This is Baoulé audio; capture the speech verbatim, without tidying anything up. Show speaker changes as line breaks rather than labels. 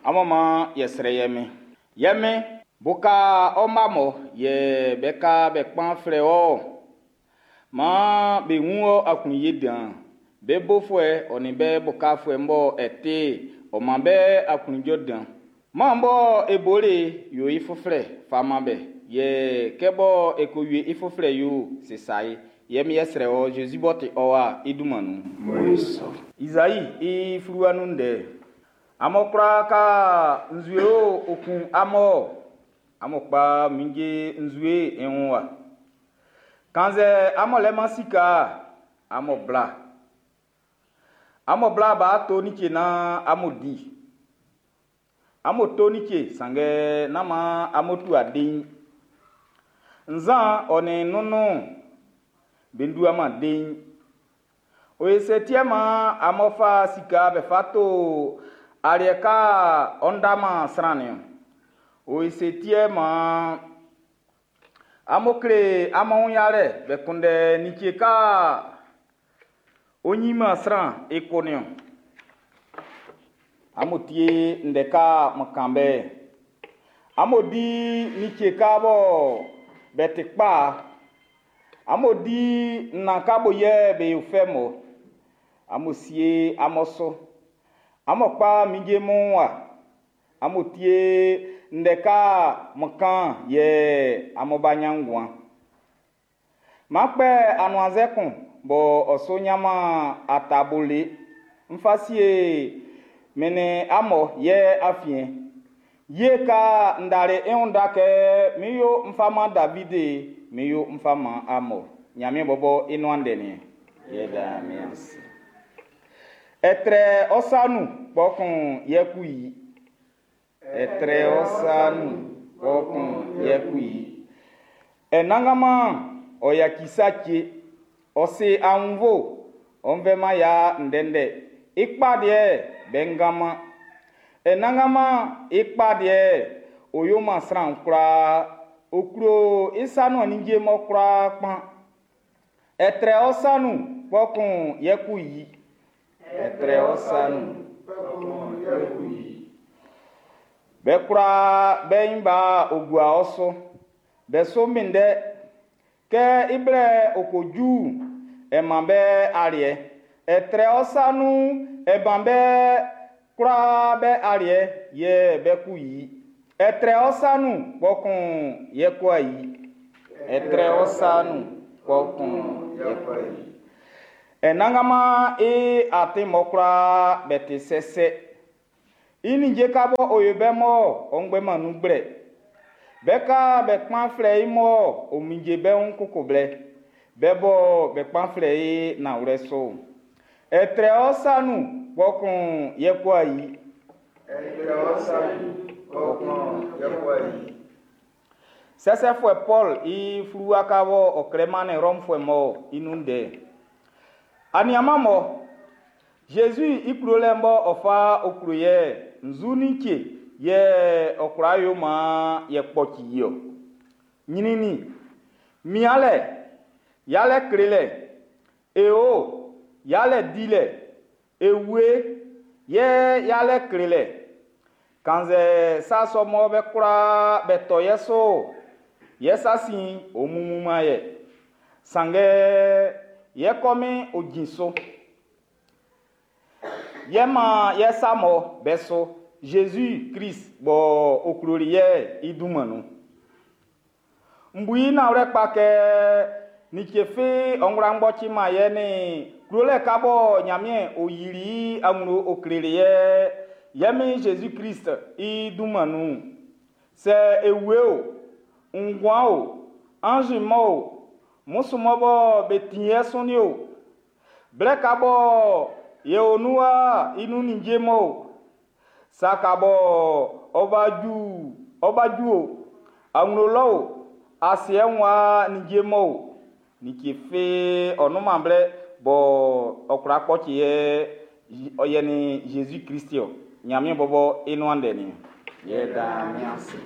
Amun man yɛ srɛ yɛ min. Yɛ min, buka ɔ mma mɔ yɛ be ka be kpan flɛ ɔ. Maan be wun ɔ aklunye dan. Be bofuɛ ɔ nin be bukafuɛ bɔ e ti, ɔ man be aklunjuɛ dan. Maan bɔ e boli yo i fuflɛ fa man be, yɛ kɛ bɔ e ko wie i fuflɛ yo sisa ye. Yɛ mi yɛ srɛ ɔ Jésus b'ɔ ti ɔ wa i dunman nun. Izai i fluwa nun ndɛ. Amun kwla ka nzue o okun amun amun kpa minje nzue i wun wa. Kannzɛ amun lɛ-man sika, amun bla. Amun bla b'a to like naan amun di. Amun to like sanngɛ nán maan amun tua dein. Nzan ɔ nin nunun be duaman dein. Oye se tiɛ man amun fa sika be fa to aliɛ ka ɔ ndaman sran niɔn. Oye se tiɛ man amun kle amun wun yalɛ be kunndɛ like ka onyinman sran i kun niɔn. Amun tie ndɛ ka mun kan bɛ. Amun di like ka bɔ be ti kpa. Amun di nnan ka bo yɛ be yo fɛ mɔ. Amun sie amun su. Amun kpa minje mun wa. Amun tie ndɛ ka mun kan yɛ amun ba ɲan nguan. M'an kpɛ anuannzɛ kun bɔ ɔ su ɲanman atabole. N fa sie min nin amun yɛ afiɛn. Ye ka ndare i wun da kɛ mi yo n fa man Davidi, mi yo n fa man amun. Ɲanmiɛn bɔbɔ i nuan ndɛ nin. Yɛ da mi ase. Ɛtrɛ ɔ sa nun kpɔkun yɛ ku yi. Ɛtrɛ ɔ sa nun kpɔkun yɛ ku yi. Ɛnanganman ɔ yaci sa cɛ. Ɔ si aunnvo, ɔ nvɛnman ya ndɛndɛ. I kpa deɛ bɛ ngaman. Ɛnanganman i kpa deɛ o yo man sran kwlaa. O klo i sa nun anigye mɔ kwlaa kpan. Ɛtrɛ ɔ sa nun kpɔkun yɛ ku yi. Ɛtrɛ ɔ sa nun
kpɔkun yɛ ku yi.
Be kwlaa be nyin ba ogua ɔ so. Be so minndɛ. Kɛ i blɛ o ko ju, e man be aliɛ. Ɛtrɛ ɔ sa nun, e ban be kwlaa be aliɛ yɛ be ku yi. Ɛtrɛ ɔ sa nun kpɔkun yɛ ku ayi. Ɛtrɛ ɔ sa nun kpɔkun yɛ ku ayi. Ɛnanganman i atin mɔ kwlaa be ti sɛsɛ. I ninnge ka bɔ o yo bɛ mɔ ɔ ngbɛman nun gblɛ. Be ka be kpan flɛ i mɔ o minje bɛ wun koko blɛ. Be bɔ be kpan flɛ i nanwlɛ so. Ɛtrɛ ɔ sa nun kpɔkun yɛ ku ayi.
Ɛtrɛ ɔ sa nun kpɔkun yɛ ku ayi.
Sɛsɛfuɛ Paul i fluwa ka bɔ ɔ klɛ mannin Rɔmfuɛ mɔ i nun ndɛ. Aniaman mɔ Jésus i klolɛ bɔ ɔ fa o klo yɛ nzu ni tse yɛ ɔ kwla yo maan yɛ kpɔci i ɔ. Nyinini, mialɛ, yalɛ klelɛ, eo, yalɛ dilɛ, ewe, yɛ yalɛ klelɛ. Kannzɛ sa sɔ mɔ be kwla be tɔ yɛ so, yɛ sa sin o mumuman yɛ. Sanngɛ yɛ kɔmin o jin so. Yɛ man yɛ sa mɔ bɛ so Jésus Christ bɔ o kloli yɛ i dunman nun. N bu i nanwlɛ kpa kɛ like fi ɔnwla ngbɔci man yɛ ni klolɛ ka bɔ Ɲanmiɛn o yili i awlo o kleli yɛ yɛ min Jésus Christ i dunman nun. Sɛ ewe o, nguan o, ange mɔ o, musu mɔ bɔ be ti yɛ sɔnni o, blɛ ka bɔ yɛ o nuwa i nun ninnge mɔ o, sa ka bɔ ɔba ju ɔba ju o, awlo lɔ o, asiɛ wa ninnge mɔ o, like fi ɔnuman blɛ bɔ ɔkura kpɔci yɛ ɔyɛ ni Jésus Christ o, Ɲanmiɛn bɔbɔ i nuan ndɛ ni. Yɛ da mi ase.